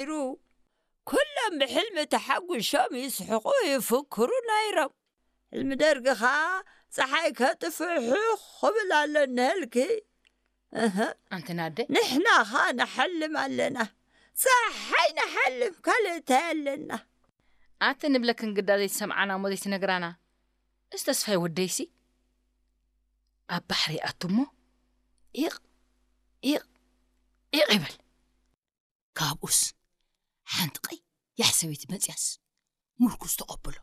ነይሩ። ኩሎም ብሕልሚ ተሓጒሾም ይስሕቑ ይፍክሩ ነይሮም። ሕልሚ ደርጊ ኸኣ ጸሓይ ከጥፍእ ሕኽ ክብል ኣሎ እነሀልኪ። እህ፣ ኣንቲ ናደ። ንሕና ኸኣ ንሓልም ኣለና። ጸሓይ ንሓልም፣ ካልእ እንታይ ኣለና? ኣቲ ንብለክን ግዳ ዘይትሰምዓና እሞ ዘይትነግራና። እዚ ተስፋይ ወደይሲ ኣብ ባሕሪ ይኣቱ እሞ ኢቕ፣ ኢቕ፣ ኢቕ ይብል። ካብኡስ ሓንቲ ቀያሕ ሰበይቲ መጽያስ ምርኩስ ተቐብሎ።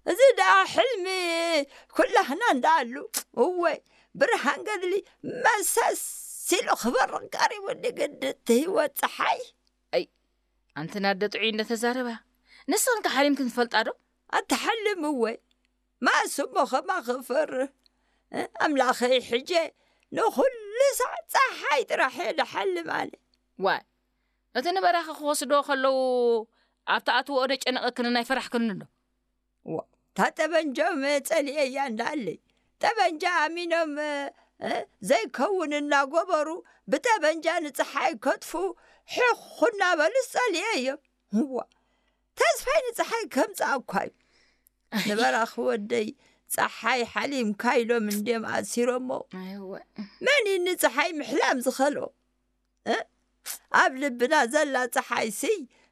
እዚ ደኣ ሕልሚ ኩላህና እንዳኣሉ። እወ፣ ብርሃን ገድሊ መሰስ ኢሉ ክበርቕ ቀሪቡ ንግድቲ ህይወት ጸሓይ። ኣይ፣ ኣንቲ ናደ ጥዑይ እንደተዛረባ፣ ንስኽን ከ ሓሊምክን ትፈልጣ ዶ? ኣትሓልም እወ። ማእስ እሞ ኸማ ክፈርህ። እ፣ ኣምላኸይ ሕጀ ንኹሉ ሳዕ ጸሓይ ጥራሕ እየ ድሓልም ኣነ። ዋይ፣ እቲ ንበራኺ ክወስድዎ ከለዉ ኣብ ትኣትውኦ ዶ ጨነቐክንን ኣይፈራሕክንን ዶ? ዋ፣ እታ ጠበንጃ መ ጸሊኤያ እንዳለይ። ጠበንጃ ኣሚኖም፣ እ፣ ዘይከውን እናገበሩ ብጠበንጃ ንጸሓይ ከጥፉ ሕኹ እናበሉ ጸሊኤዮም። ዋ፣ ተስፋይ ንጸሓይ ከምጽኣኳ እዩ። ንበራኺ ወደይ፣ ጸሓይ ሓሊምካ ኢሎም እንድዮም ኣሲሮሞ። ኣይወ። መን እዩ ንጸሓይ ምሕላም ዝኸልኦ? እ? ኣብ ልብና ዘላ ጸሓይሲ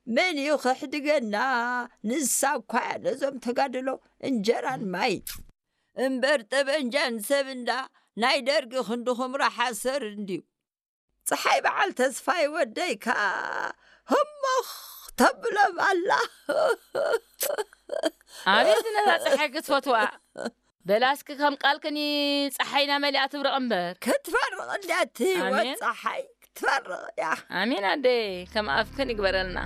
መን እዩ ከሕድገና? ንሳ እኳ እያ ነዞም ተጋድሎ እንጀራን ማይ እምበር ጠበንጃን ሰብ እንዳ ናይ ደርጊ ክንድኹም ራሓሰር እንድዩ። ጸሓይ በዓል ተስፋይ ወደይ ከኣ ህሞኽ ተብሎም ኣላ። ኣቤት ነዛ ጸሓይ ክትፈትዋ። በላ እስኪ ከም ቃልክኒ ጸሓይና መሊኣ ትብረቕ እምበር። ክትፈርቕ እንድያ እቲ ህይወት ኣሜን። ጸሓይ ክትፈርቕ እያ። ኣሜን ኣደይ፣ ከም ኣፍክን ይግበረልና።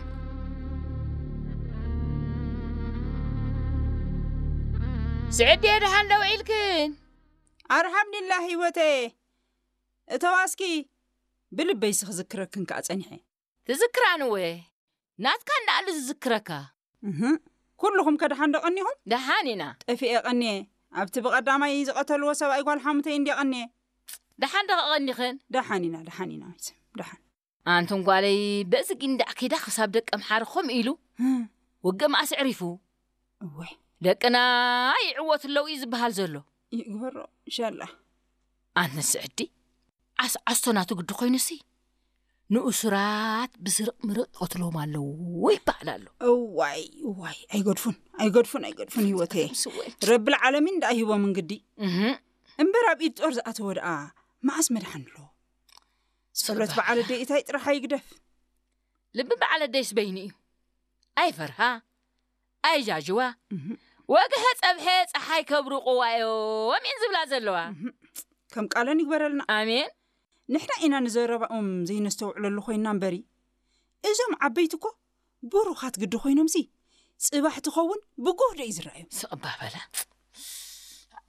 ስዕዲ ደሓን ዶ ውዒልክን? ኣልሓምዱሊላህ ህይወተይ። እተዋ እስኪ ብልበይሲ ክዝክረክን ከኣ ጸኒሐ። ትዝክራን እወ፣ ናትካ እንዳኣሉ ዝዝክረካ። እህ፣ ኩልኹም ከ ደሓን ዶ ቀኒኹም? ደሓን ኢና። ጠፊኤ ቀኒየ። ኣብቲ ብቐዳማይ ዝቐተልዎ ሰብኣይ ጓል ሓሙተይ እንድየ ቀኒየ። ደሓን ዶ ቀኒኽን? ደሓን ኢና፣ ደሓን ኢና፣ መይሰም፣ ደሓን። ኣንቱን ጓለይ፣ በዚ ጊንዳዕ ከይዳ ክሳብ ደቂ ኣምሓረ ከምኡ ኢሉ እህ። ውግእ መኣስ ዕሪፉ? እወይ። ደቅና ይዕወቱ ኣለዉ እዩ ዝበሃል ዘሎ። ይግበሮ፣ ኢንሻላህ። ኣንተን ስዕዲ፣ ዓስዓስቶ ናቱ ግዲ ኮይኑሲ፣ ንእሱራት ብስርቕ ምርቕ ይቐትልዎም ኣለዉ ይበሃል ኣሎ። እዋይ፣ እዋይ፣ ኣይገድፉን፣ ኣይገድፉን፣ ኣይገድፉን ህይወተይ። ስወት። ረብል ዓለሚን ደኣ ሂቦምን ግዲ። እህ። እምበር ኣብ ኢድ ጦር ዝኣተወ ደኣ መኣስ መድሓን ኣሎ? ጸሎት በዓል ኣደይ እታይ ጥራሕ ኣይግደፍ። ልቢ በዓል ኣደይስ በይኑ እዩ። ኣይፈርሃ፣ ኣይጃጅዋ። እህ። ወግሐ ጸብሐ ጸሓይ ከብርቑዋ እዮም እየን ዝብላ ዘለዋ። እህ። ከም ቃለን ይግበረልና። ኣሜን። ንሕና ኢና ንዘረባኦም ዘይነስተውዕለሉ ኮይንና እምበሪ፣ እዞም ዓበይቲ እኮ ብሩኻት ግዲ ኮይኖምሲ፣ ጽባሕ ትኸውን ብጉህ ዶ እዩ ዝረኣዮም? ስቕ እባ በላ።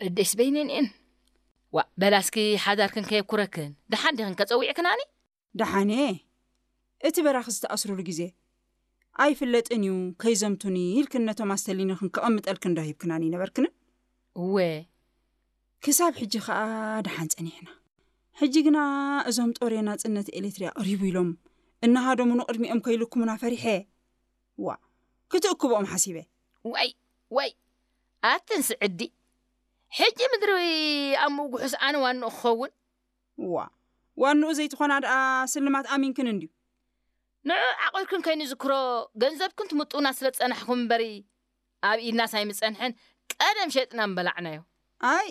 ኣደይስ በይነን እየን። ዋእ፣ በላ እስኪ ሓዳርክን ከየብኩረክን፣ ደሓን ዲኽን ከጸዊዕክናኒ? ደሓን እየ። እቲ በራኺ ዝተኣስሩሉ ግዜ ኣይፍለጥን እዩ፣ ከይዘምቱኒ ኢልክን ነቶም ኣስተሊንክን ከቐምጠልክን ዶ ሂብክናኒ ነበርክንን? እወ። ክሳብ ሕጂ ኸኣ ደሓን ጸኒሕና። ሕጂ ግና እዞም ጦር ናጽነት ኤሌትሪ ኣቕሪቡ ኢሎም እናሃደሙ ንቕድሚኦም ከይልኩሙና ፈሪሐ። ዋእ፣ ክትእክብኦም ሓሲበ። ዋይ፣ ዋይ፣ ኣትን ስዕዲ። ሕጂ ምድሪ ኣብ ምጉሑስ ኣነ ዋንኡ ክኸውን? ዋእ፣ ዋንኡ ዘይትኾና ደኣ ስልማት ኣሚንክን እንድዩ። ንዑ ዓቑርክን ከይንዝክሮ ገንዘብክን ትምጡና ስለ ዝጸናሕኩም እምበሪ፣ ኣብ ኢድናስ ኣይምጸንሐን፣ ቀደም ሸጥና ምበላዕናዮ። ኣይ፣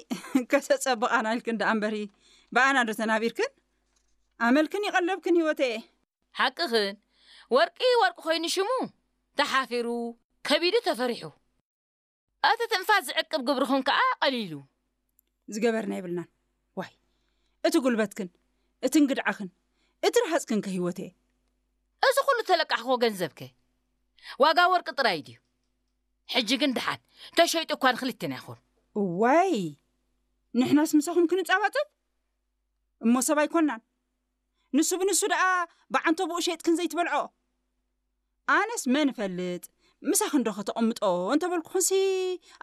ከተጸብቓና ኢልክን ደኣ እምበሪ፣ ብኣና ዶ ተናቢርክን? ኣመልክን ይቐለብክን ህይወተየ። ሓቅኽን፣ ወርቂ ወርቂ ኮይኑ ሽሙ ተሓፊሩ፣ ከቢዱ ተፈሪሑ። እቲ ትንፋስ ዝዕቅብ ግብርኽን ከኣ ቀሊሉ። ዝገበርና የብልናን። ዋይ፣ እቲ ጉልበትክን፣ እቲ እንግድዓኽን፣ እቲ ረሃጽክን ከ ህይወተየ። እዚ ኩሉ ተለቃሕክዎ ገንዘብከ ዋጋ ወርቂ ጥራይ ድዩ? ሕጂ ግን ደሓን፣ ተሸይጡ እኳ ንኽልቴና ይኹን። እዋይ፣ ንሕናስ ምሳኹም ክንጻባጸብ? እሞ ሰብ ኣይኮናን። ንሱ ብንሱ ደኣ ብዓንተቦኡ ሸይጥክን ዘይትበልዖ። ኣነስ መን እፈልጥ፣ ምሳኽን ዶ ከተቐምጦ እንተበልኩኽንሲ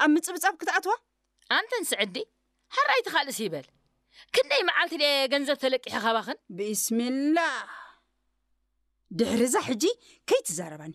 ኣብ ምጽብጻብ ክትኣትዋ? ኣንተን ስዕዲ፣ ሕራይ እቲ ካልእስ ይበል። ክንደይ መዓልቲ ድየ ገንዘብ ተለቂሐ ካባኽን? ቢስሚላህ። ድሕርዛ ሕጂ ከይትዛረባኒ።